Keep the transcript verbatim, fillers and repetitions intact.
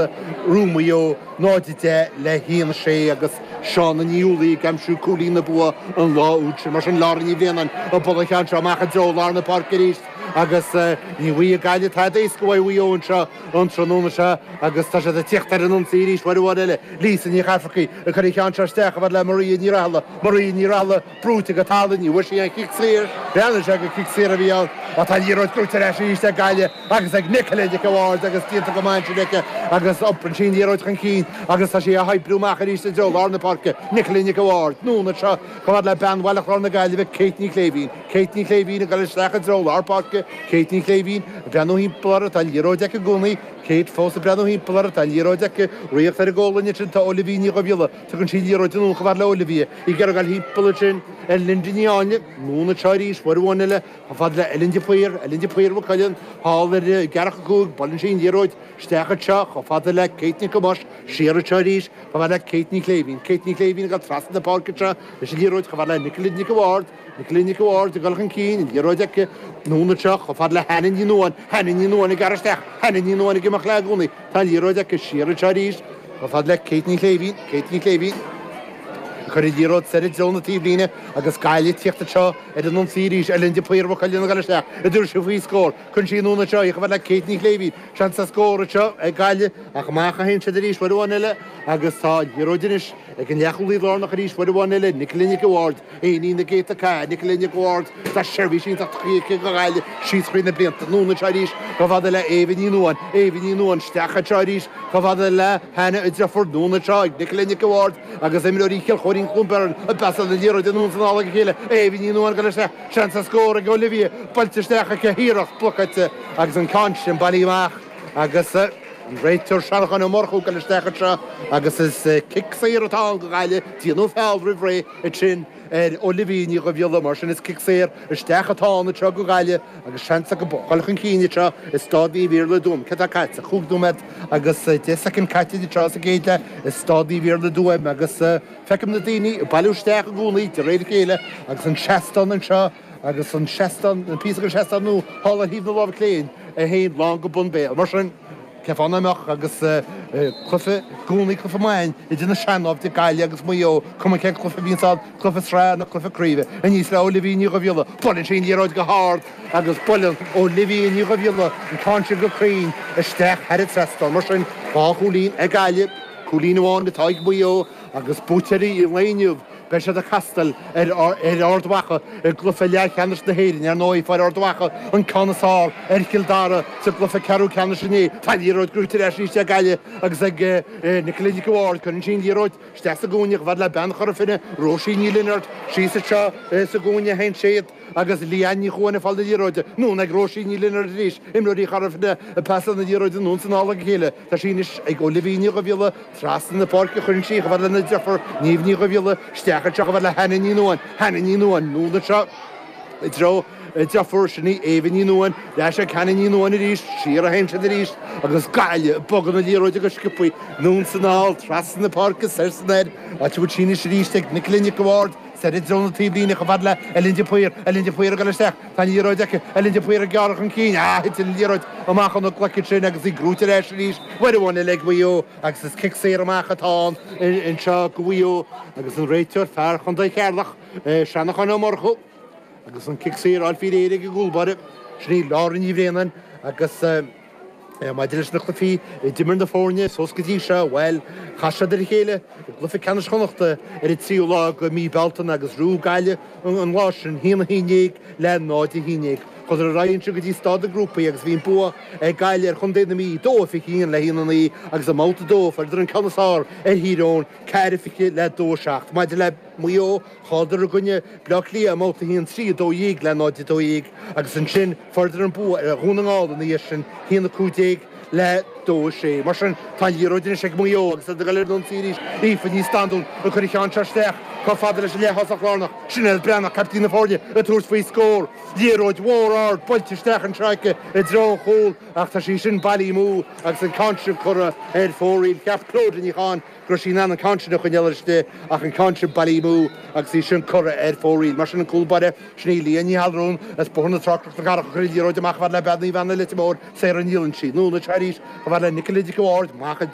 Roimh Mhaigh Eo náid a deich le haon a sé agus Shauna Ní Uallaigh ag aimsiú cúilín na bua an lá úd sin. Mar sin Lára Ní Bhraonáin ag bualadh an cheann seo amach i dtreo lár na páirce arís agus ní bhfaighidh Gaillimh tada éasca uaidh Mhaigh Eo anseo an tráthnóna seo agus tá siad ag tíocht ar an ionsaí arís uair amháin eile. Lisa Ní Chafarcaigh ag cur an cheann seo isteach chomh fada le Maria Ní Raghallaigh. Maria Ní Raghallaigh brúite go talamh, ní bhfuair sí an chic saor. Bhreathnaigh sé gur cic saor a bhí ann ach tá an liathróid gnóite ar ais arís ag Gaillimh agus ag Nicola Nic a' Bhaird agus déanta go maith ansin aici agus iomparann sí an liathróid chun cinn agus tá sí á hoibriú amach arís i dtreo lár na páirce. Nicola Nic a' Bhaird, anonn anseo chomh fada le bean Bhaile Chláir na Gaillimhe, Kate Ní Chléibhín. Kate Ní Chléibhín ag dul isteach i dtreo lár páirce. Kate Ní Chléibhín ag breathnú thimpeall uirthi, tá an liathróid aici i gcónaí. Kate fós ag breathnú thimpeall uirthi, tá an liathróid aici. Ríocht ar an gcólainn ansin tá Olivia Ní Dhubhghiolla. Tugann sí an liathróid anonn chomh fada le Olivia. Í ag iarraidh dul thimpeall ansin ar Linda Ní Áinle. Anonn anseo arís, uair amháin eile, chomh fada le Ellen de Paor. Ellen de Paor Mhaigh Cuilinn thall ar an gceathracha cúig. Buaileann sí an liathróid isteach anseo chomh fada le Kate Nic Thomáis. Siar anseo arís chomh fada le Kate Ní Chléibhín. Kate Ní Chléibhín ag dul trasna na páirce anseo leis an liathróid chomh fada le Nicola Nic a' Bhaird. Nicola Nic a' Bhaird ag dul chun cinn, an liathróid aici. Anonn anseo chomh fada le Hannah Ní Nuadháin. Hannah Ní Nuadháin ag gearradh isteach. Hannah Ní Nuadháin ag imeacht léi i gcónaí. Tá an liathróid aici. Siar anseo arís chomh fada le Kate Ní Chléibhín. Kate Ní Chléibhín ag cur an liathróid soir i dtreo na taobhlíne agus Gaillimh ag tíocht anseo ar an ionsaí arís. Ellen de Paor Mhaigh Cuilinn ag dul isteach ag tabhairt faoi scór. Cuireann sí anonn anseo í chomh fada le Kate Ní Chléibhín. Seans ar scór anseo ag Gaillimh ach amach a théann siad arís uair amháin eile agus tá an liathróid anois ag an leathchúlaí lárnach arís uair amháin eile, Nicola Nic a' Bhaird, Éinín na gcéadta cath, Nicola Nic a' Bhaird, tá seirbhís iontach tugtha aici do Ghaillimh síos thrí na blianta. Anonn anseo arís chomh fada le Éabha Ní Nuadháin, Éabha Ní Nuadháin isteach anseo arís chomh fada le Hannah a deirfiúr. Anonn anseo ag Nicola Nic a' Bhaird agus imreoirí Chill Chóirín Cluain Bheirn ag pasáil na liathróide anonn is anall ag a chéile. Éabha Ní Nuadháin ag dul isteach, seans ar scór ag Olivia, buailte isteach aici, iarracht blocáilte agus an ceann sin bailithe amach agus an réiteoir Seanchán Ó Murchú ag dul isteach anseo agus is cic saor atá ann do Ghaillimh, déanadh feall roimh ré ansin ar Olivia Ní Dhubhghiolla, mar sin is cic saor isteach atá ann anseo do Ghaillimh agus seans acu dul chun cinn anseo i Staid Naomh Iarlaith i dTuaim. Céard atá caite? Chúig nóiméad agus deich soicind caite anseo sa gcéad leath i Staid Naomh Iarlaith i dTuaim agus feicim na daoine ag bailiú isteach i gcónaí de réir a chéile agus an seastán anseo agus an seastán, an píosa den seastán nua thall ar thaobh na láimhe clé é féin lán go bun béil. Mar sin, cén fáth nach mbeadh agus cluiche i gcónaí cluiche maith idir na sean-naimhde Gaillimh agus Maigh Eo, cuma cén cluiche a bhíonns ann, cluiche sraithe nó cluiche craoibhe. Aníos le Olivia Ní Dhubhghiolla, buaileann sí an liathróid go hard agus buaileann Olivia Ní Dhubhghiolla an ceann sin go cruinn isteach thar an trasnán. Mar sin, dhá chúilín ag Gaillimh, cúilín amháin atá ag Maigh Eo agus buaiteoirí an lae inniu. Beidh siad ag castáil ar Ard Mhacha i gcluiche leathcheannais na hÉireann. Ar ndóigh, fuair Ard Mhacha an ceann is fearr ar Chill Dara sa gcluiche ceathrú ceannais inné. Tá an liathróid gnóite ar ais arís ag Gaillimh agus ag Nicola Nic a' Bhaird. Cuireann sí an liathróid isteach sa gcúinne chomh fada le bean Chora Finne, Róisín Ní Lionáird, síos anseo sa gcúinne a théann siad agus Leanne Ní Chuain ag fáil na liathróide. Anonn ag Róisín Ní Lionáird arís. Imreoirí Chora Finne ag pasáil na liathróide anonn is anall ag a chéile. Tá sí anois ag Olivia Ní Dhubhghiolla. Trasna na páirce a chuireann sí chomh fada lena deirfiúr, Niamh Ní Dhubhghiolla, isteach anseo chomh fada le Hannah Ní Nuadháin. Hannah Ní Nuadháin, anonn anseo i dtreo a deirfiúr, sin í Éabha Ní Nuadháin, ar ais ag Hannah Ní Nuadháin arís, siar a théann siad arís agus Gaillimh ag bogadh na liathróide go sciobtha, anonn is anall, trasna na páirce, soir is anoir, áit a bhfuil sí anois arís ag Nicola Nic a' Bhaird, soir i dtreo na taobhlíne chomh fada le Ellen de Paor, Ellen de Paor ag dul isteach, tá an liathróid aici, Ellen de Paor ag gearradh chun cinn, ah, thit an liathróid amach óna glaic ansin agus í gnóite ar ais arís, uair amháin eile ag Maigh Eo agus is cic saor amach atá ann anseo do Mhaigh Eo agus an réiteoir, fear Chontae Cheatharlach, Seanachán Ó Murchú agus an cic saor á fháil faoi réir ag an gcúlbáire, sin í Laura Ní Bhraonáin agus. Maidir leis na cluichí a d'imir na foirne suas go dtí seo, bhuel, chas siad ar a chéile i gcluiche ceannais Chonnachta ar an tríú lá de mhí Bealtaine agus ghnóthaigh Gaillimh an lá sin, a haon a haon déag le náid a haon déag. Chuadar ar aghaidh ansin go dtí staid na ngrúpaí agus bhí an bua ag Gaillimh ar chontae na Mí, dó a fiche haon le haon a naoi agus i mbabhta a dó fuaireadar an ceann is fearr ar Thír Eoghain, ceathair a fiche le dó a seacht. Maidir le Maigh Eo, Chailleadar i gcoinne Bleá Cliath i mbabhta a haon, trí a dó dhéag le náid a dó dhéag agus ansin fuaireadar an bua ar Dhún na nGall ina dhiaidh sin, haon a cúig déag le dó a sé. Mar sin, tá an liathróid anois ag Maigh Eo agus iad ag dul ar an ionsaí arís. Aoife Ní Standún ag cur an cheann seo isteach chomh fada leis an leath-thosach lárnach. Sinéad Breathnach, caiptín na foirne, ag tabhairt faoi scór. Liathróid mhór ard buailte isteach anseo aici i dtreo an chúil ach tá sí sin bailithe amú agus an ceann sin curtha ar fóraoil. Cheap Clodagh Ní Chadhain go raibh sí in ann an ceann sin a choinneáil istigh ach an ceann sin bailithe amú agus í sin curtha ar fóraoil. Mar sin an cúl báire, sin í Leah Ní Allmhúin as Bóthar na Trá, Cnoc na Cathrach a chuir an liathróid amach chomh fada le Bean Naomh Anna Leitir Móir, Sarah Ní Loinsigh. Anonn anseo arís chomh fada fhad le Nicola Dick Ward, amach